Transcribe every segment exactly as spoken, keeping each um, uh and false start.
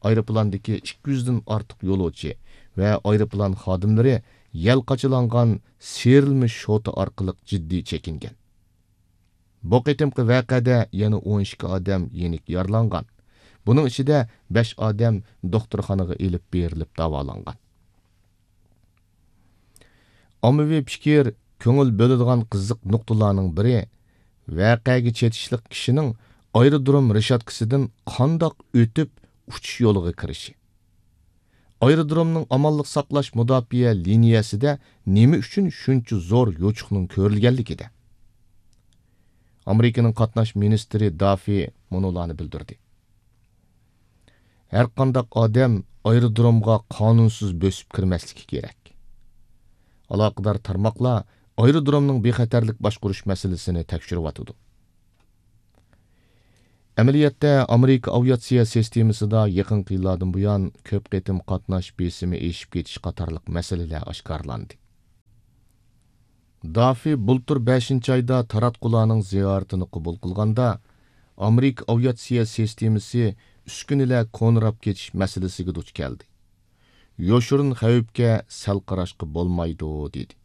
ئايروپىلاندىكى ئىككى يۈزدىن ئارتۇق يولۇچى ۋە ئايروپىلان خادىملىرى يەل قاچىلانغان سىيرىلمە شوتا ئارقىلىق جىددىي چېكىنگەن. بۇ قېتىمقى ۋەقەدە يەنە ئون ئىككى ئادەم يېنىك يارىلانغان. بۇنىڭ ئىچىدە بەش ئادەم دوختۇرخانىغا ئېلىپ بېرىلىپ داۋالانغان. ئاممىۋى پىكىر، كۆڭۈل بۆلىدىغان قىزىق نۇقتىلارنىڭ بىرى، ۋەقەگە چېتىشلىق كىشىنىڭ ئايرودروم رېشاتكىسىدىن قانداق ئۆتۈپ ئۇچۇش يولىغا كىرىشى. ئايرودرومنىڭ ئامانلىق ساقلاش مۇداپىئە لىنىيەسىدە نېمە ئۈچۈن شۇنچە زور يوچۇقنىڭ كۆرۈلگەنلىكىدە. ئامېرىكىنىڭ قاتناش مىنىستىرى دافى مۇنۇلارنى بىلدۈردى. ھەرقانداق ئادەم ئايرودرومغا قانۇنسىز بۆسۈپ كىرمەسلىكى كېرەك. ئالاقىدار تارماقلار ئايرودرومنىڭ بىخەتەرلىك باشقۇرۇش مەسىلىسىنى تەكشۈرۈۋاتىدۇ. ئەمەلىيەتتە، ئامېرىكا ئاۋىئاتسىيە سىستېمىسىدا يېقىنقى يىللاردىن بۇيان كۆپ قېتىم قاتناش بېسىمى ئېشىپ كېتىش قاتارلىق مەسىلىلەر ئاشكارىلاندى. دافى بۇلتۇر بەشىنچى ئايدا تاراتقۇلارنىڭ زىيارىتىنى قوبۇل قىلغاندا، ئامېرىكا ئاۋىئاتسىيە سىستېمىسى ئۈسكۈنىلەر كونىراپ كېتىش مەسىلىسىگە دۇچ كەلدى. يوشۇرۇن خەۋپكە سەل قاراشقا بولمايدۇ، دېدى.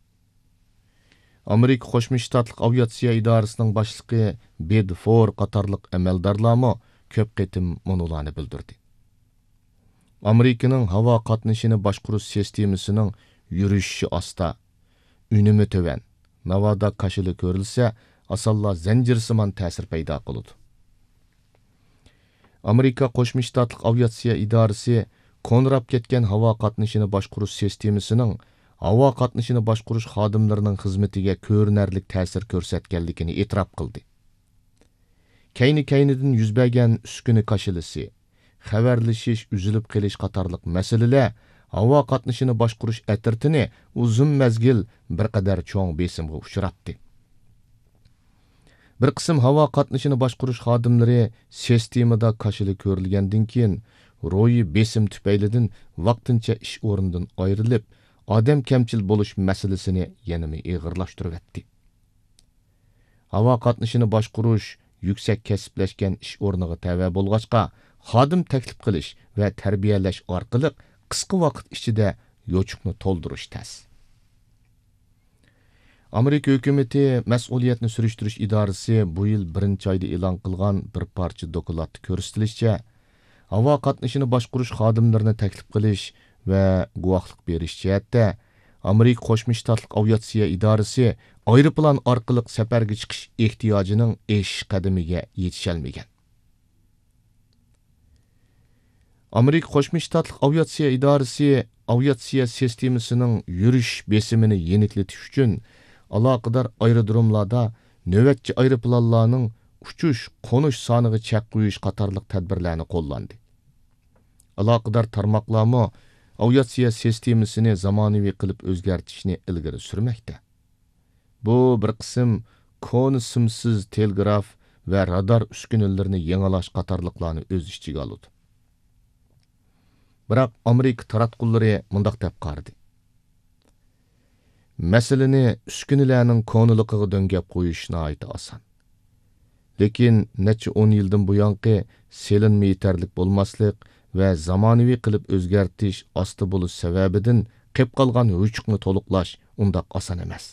ئامېرىكا قوشما شتاتلىق ئاۋىئاتسىيە ئىدارىسىنىڭ باشلىقى بېد فور قاتارلىق ئەمەلدارلارمۇ كۆپ قېتىم مۇنۇلارنى بىلدۈردى. ئامېرىكىنىڭ ھاۋا قاتنىشىنى باشقۇرۇش سىستېمىسىنىڭ يۈرۈشۈشى ئاستا، ئۈنۈمى تۆۋەن، ناۋادا كاشىلى كۆرۈلسە، ئاسانلا زەنجىرسىمان تەسىر پەيدا قىلىدۇ. ئامېرىكا قوشما شتاتلىق ئاۋىئاتسىيە ئىدارىسى كونىراپ كەتكەن ھاۋا قاتنىشىنى باشقۇرۇش سىستېمىسىنىڭ ھاۋا قاتنىشىنى باشقۇرۇش خادىملىرىنىڭ خىزمىتىگە كۆرۈنەرلىك تەسىر كۆرسەتكەنلىكىنى ئېتىراپ قىلدى. كەينى-كەينىدىن يۈز بەرگەن ئۈسكۈنە كاشىلىسى، خەۋەرلىشىش ئۈزۈلۈپ قېلىش قاتارلىق مەسىلىلەر ھاۋا قاتنىشىنى باشقۇرۇش ئەترىتىنى ئۇزۇن مەزگىل بىر قەدەر چوڭ بېسىمغا ئۇچراتتى. بىر قىسىم ھاۋا قاتنىشىنى باشقۇرۇش خادىملىرى سىستېمىدا كاشىلى كۆرۈلگەندىن كېيىن، روھىي بېسىم تۈپەيلىدىن ۋاقتىنچە ئىش ئورنىدىن ئايرىلىپ، ئادەم كەمچىل بولۇش مەسىلىسىنى يەنىمۇ ئېغىرلاشتۇرۇۋەتتى. ھاۋا قاتنىشىنى باشقۇرۇش يۈكسەك كەسىپلەشكەن ئىش ئورنىغا تەۋە بولغاچقا، خادىم تەكلىپ قىلىش ۋە تەربىيەلەش ئارقىلىق قىسقا ۋاقىت ئىچىدە يوچۇقنى تولدۇرۇش تەس. ئامېرىكا ھۆكۈمىتى مەسئۇلىيەتنى سۈرۈشتۈرۈش ئىدارىسى بۇ يىل بىرىنچى ئايدا ئېلان قىلغان بىر پارچە دوكلاتتا كۆرسىتىلىشىچە، ھاۋا قاتنىشىنى باشقۇرۇش خادىملىرىنى تەكلىپ قىلىش ۋە گۇۋاھلىق بېرىش جەھەتتە ئامېرىكا قوشما شتاتلىق ئاۋىئاتسىيە ئىدارىسى ئايروپىلان ئارقىلىق سەپەرگە چىقىش ئېھتىياجىنىڭ ئېشىش قەدىمىگە يېتىشەلمىگەن. ئامېرىكا قوشما شتاتلىق ئاۋىئاتسىيە ئىدارىسى ئاۋىئاتسىيە سىستېمىسىنىڭ يۈرۈش بېسىمىنى يېنىكلىتىش ئۈچۈن ئالاقىدار ئايرودروملاردا نۆۋەتچى ئايروپىلانلارنىڭ ئۇچۇش، قونۇش سانىغا چەك قويۇش قاتارلىق تەدبىرلەرنى قوللاندى. ئالاقىدار تارماقلارمۇ ئاۋىئاتسىيە سىستېمىسىنى زامانىۋى قىلىپ ئۆزگەرتىشنى ئىلگىرى سۈرمەكتە. بۇ بىر قىسىم كونا سىمسىز تېلېگراف ۋە رادار ئۈسكۈنىلىرىنى يېڭىلاش قاتارلىقلارنى ئۆز ئىچىگە ئالىدۇ. بىراق ئامېرىكا تاراتقۇلىرى مۇنداق دەپ قارىدى: مەسىلىنى ئۈسكۈنىلەرنىڭ كونىلىقىغا دۆڭگەپ قويۇش ناھايىتى ئاسان. لېكىن نەچچە ئون يىلدىن بۇيانقى سېلىنما يېتەرلىك بولماسلىق ۋە زامانىۋى قىلىپ ئۆزگەرتىش ئاستا بولۇش سەۋەبىدىن قېپ قالغان يوچۇقنى تولۇقلاش ئۇنداق ئاسان ئەمەس.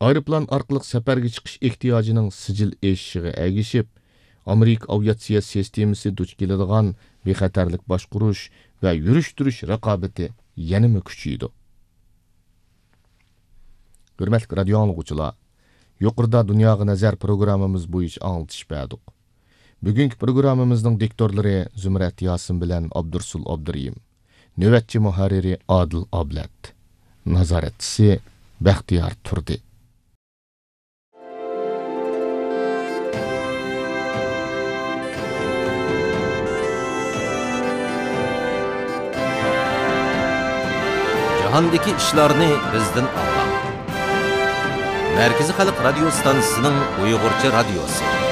ئايروپىلان ئارقىلىق سەپەرگە چىقىش ئېھتىياجىنىڭ سىجىل ئېشىشىغا ئەگىشىپ، ئامېرىكا ئاۋىئاتسىيە سىستېمىسى دۇچ كېلىدىغان بىخەتەرلىك باشقۇرۇش ۋە يۈرۈشتۈرۈش رىقابىتى يەنىمۇ كۈچىيىدۇ. ھۆرمەتلىك رادىيو ئاڭلىغۇچىلار، يۇقىرىدا دۇنياغا نەزەر پروگراممىمىز بويىچە ئاڭلىتىش بەردۇق. بۈگۈنكى پروگراممىمىزنىڭ دىكتورلىرى زۇمرەت ياسىن بىلەن ئابدۇرسۇل ئابدۇرېھىم. نۆۋەتچى مۇھەررىرى ئادىل ئابلەت. نازارەتچىسى بەختىيار تۇردى. جاھاندىكى ئىشلارنى بىزدىن ئاڭلاڭ. مەركىزىي خەلق رادىيو ستانسىسىنىڭ ئۇيغۇرچە رادىيوسى.